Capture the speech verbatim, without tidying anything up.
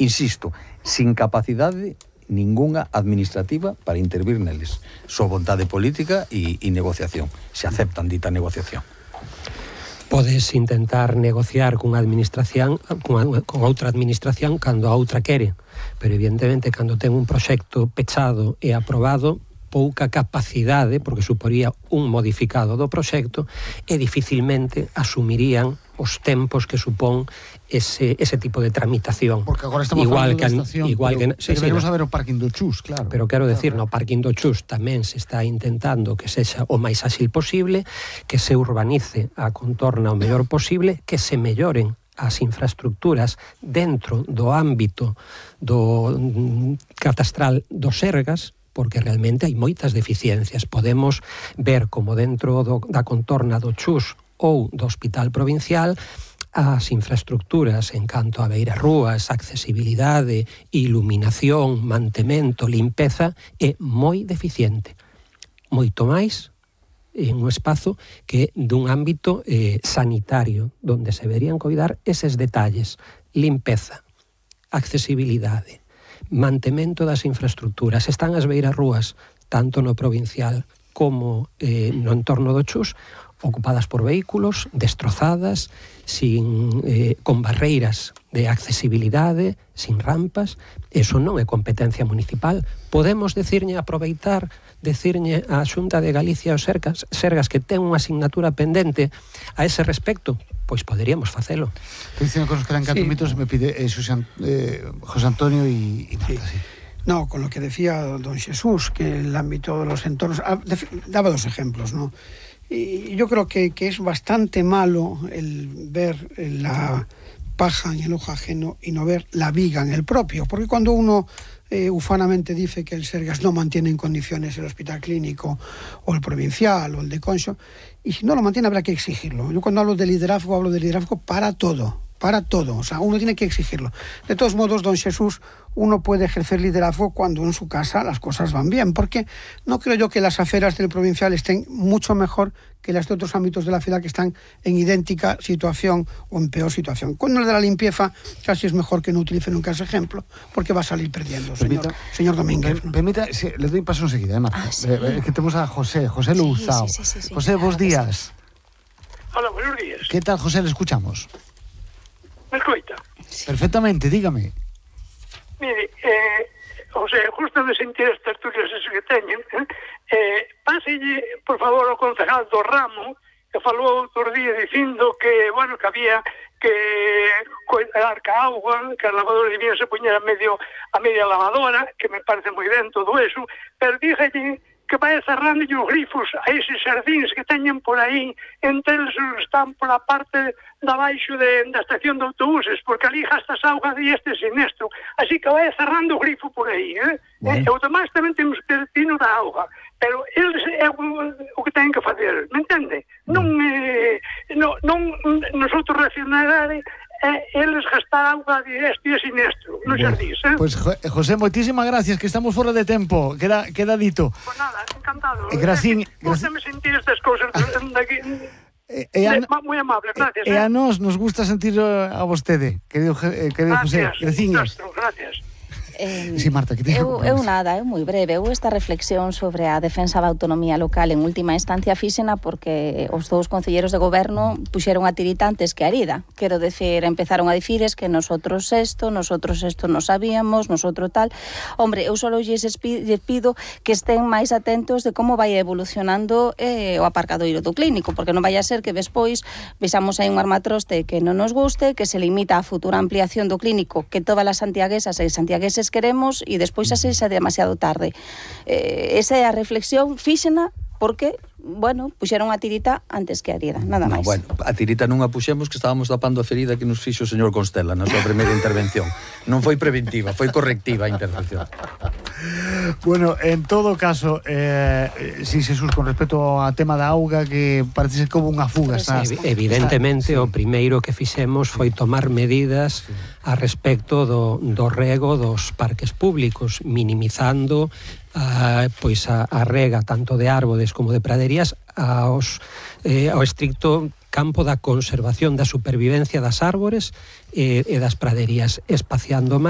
insisto, sin capacidade ningunha administrativa para intervir neles. Só vontade política e, e negociación. Se aceptan dita negociación. Podes intentar negociar cunha administración, con, con outra administración cando a outra quere, pero evidentemente cando ten un proxecto pechado e aprobado, pouca capacidade, porque suporía un modificado do proxecto, e dificilmente asumirían os tempos que supón ese, ese tipo de tramitación. Porque agora estamos igual falando que, da estación, igual pero, que, sí, pero veremos sí, a ver o parking do Chus, claro. Pero quero decir, claro, no parking do Chus tamén se está intentando que sexa o máis áxil posible, que se urbanice a contorna o mellor posible, que se melloren as infraestructuras dentro do ámbito do catastral dos Sergas, porque realmente hai moitas deficiencias. Podemos ver como dentro do, da contorna do Chus ou do Hospital Provincial as infraestructuras en canto a beirarrúas, accesibilidade, iluminación, mantemento, limpeza é moi deficiente. Moito máis en un espazo que dun ámbito eh, sanitario, donde se deberían coidar eses detalles: limpeza, accesibilidade, mantemento das infraestructuras. Están as beirarrúas, tanto no provincial como eh, no entorno do Chus, ocupadas por vehículos, destrozadas, sin, eh, con barreiras de accesibilidade, sin rampas. Eso non é competencia municipal. Podemos decirlle, aproveitar, decirlle á Xunta de Galicia os Sergas, Sergas que ten unha asignatura pendente a ese respecto? Pois poderíamos facelo. Estoy diciendo que nos quedan catro minutos, me pide eh, Susan, eh, José Antonio y, y Marta, sí. Sí. No, con lo que decía don Jesús, que el ámbito de los entornos... Ah, daba dos ejemplos, ¿no? Y yo creo que, que es bastante malo el ver la paja en el ojo ajeno y no ver la viga en el propio, porque cuando uno eh, ufanamente dice que el Sergas no mantiene en condiciones el hospital clínico o el provincial o el de Conxo, y si no lo mantiene habrá que exigirlo. Yo cuando hablo de liderazgo, hablo de liderazgo para todo, para todo, o sea, uno tiene que exigirlo. De todos modos, don Jesús, uno puede ejercer liderazgo cuando en su casa las cosas van bien, porque no creo yo que las aceras del provincial estén mucho mejor que las de otros ámbitos de la ciudad que están en idéntica situación o en peor situación. Con el de la limpieza casi es mejor que no utilice nunca ese ejemplo, porque va a salir perdiendo, señor, permita, señor Domínguez. ¿no? Permita, sí, le doy paso enseguida, ¿eh, Marta? Ah, sí. eh, que tenemos a José, José Louzao. Sí, sí, sí, sí, José, claro, buenos días. Sí. Hola, buenos días. ¿Qué tal, José? Le escuchamos. ¿Me escucha? Sí. Perfectamente, dígame. Mire, eh, o sea, justo de sentir as tertulias que teñen, eh, páselle, por favor, ao concejal do Ramo, que falou outro día dicindo que, bueno, que había que cuidar ca auga, que a lavadora debía se poñer a medio a media lavadora, que me parece moi ben todo eso, pero díxelle que vai cerrando os grifos a eses xardíns que teñen por aí, entre eles están por a parte de abaixo de, da estación de autobuses, porque ali gastas auga de este sinestro, así que vai cerrando o grifo por aí, eh? Bueno. E o demais tamén temos que destino da auga, pero eles é o, o que teñen que fazer, me entende? Non, eh, non, non nosotros reaccionar eh, eles gastar auga de este e sinestro nos xardíns, eh? Pues José, moitísimas gracias, que estamos fora de tempo, queda, queda dito. Pues nada, encantado. Eh, Gracín, Gracias. Gústame sentir estas cousas daqui. E, e a, moi amable, gracias. E a nós nos gusta sentir a vostede, querido, eh, querido José. Gracias, gracias. Eh, sí, Marta, que te eu, eu nada, é moi breve. Eu esta reflexión sobre a defensa da autonomía local en última instancia fíxena porque os dous concelleiros de goberno puxeron a tirita antes que a herida. Quero decir, empezaron a dicir es que nosotros esto, nosotros esto non sabíamos, nosotros tal. Hombre, eu só lles pido que estén máis atentos de como vai evolucionando eh, o aparcadoiro do clínico, porque non vai a ser que despois vexamos aí un armatroste que non nos guste, que se limita a futura ampliación do clínico, que todas as santiaguesas e santiagueses queremos e despois xa se xa demasiado tarde. Eh, esa é a reflexión fíxena porque, bueno, puxeron a tirita antes que a herida, nada máis. No, bueno, a tirita non a puxemos que estábamos tapando a ferida que nos fixo o señor Constela na súa primeira intervención. Non foi preventiva, foi correctiva a intervención. Bueno, en todo caso, eh, si Jesús, con respecto ao tema da auga, que parece ser como unha fuga. Está, evidentemente, está, o primeiro que fixemos foi tomar medidas sí. a respecto do, do rego dos parques públicos, minimizando Uh, pois a, a rega tanto de árboles como de praderías aos, eh, ao estricto campo da conservación, da supervivencia das árbores e, e das praderías, espaciando máis